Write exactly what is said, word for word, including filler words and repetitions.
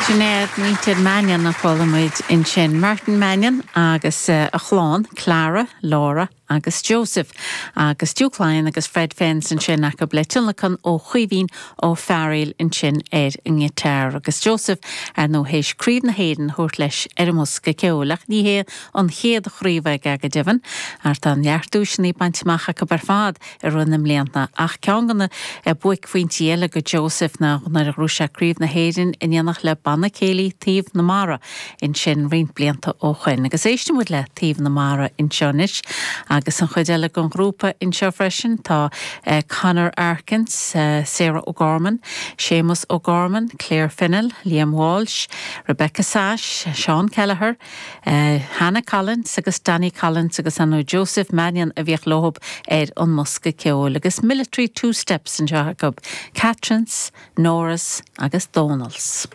Sinéad muintir Mannion a chuala muid ansin Martin Mannion agus uh, a chlann Clara, Laura agus Joseph agus Duke Lyon agus Fred Fens ansin acu le tionlacan ó Chaoimhín Ó Fearghail ansin ar an ngiotár agus Joseph ar nó théis Craobh na hÉireann a thabhairt leis ar an mbosca ceoil ach ní hé an chéad chraobh aige go deimhin ar tá neart duaiseanna bainte amach acu ar fad i rith na mblianta ach ceann de na buaicphointí eile go Joseph ná nuair a ghnóthaigh sé Craobh na hÉireann in éineacht le Banna Céilí Taobh na Mara ansin roinnt blianta ó shin agus éistfimid le Taobh na Mara anseo anois agus an chuid eile den ghrúpa anseo freisin tá uh, Conor Arkins, uh, Sarah O'Gorman, Seamus O'Gorman, Claire Fennell, Liam Walsh, Rebecca Sash, Sean Kelleher, uh, Hannah Collins agus Danny Collins agus anú Joseph Mannion a bhíodh leo ar an mbosca ceoil agus military two steps anseo acu, Catrins, Norris agus Donalds.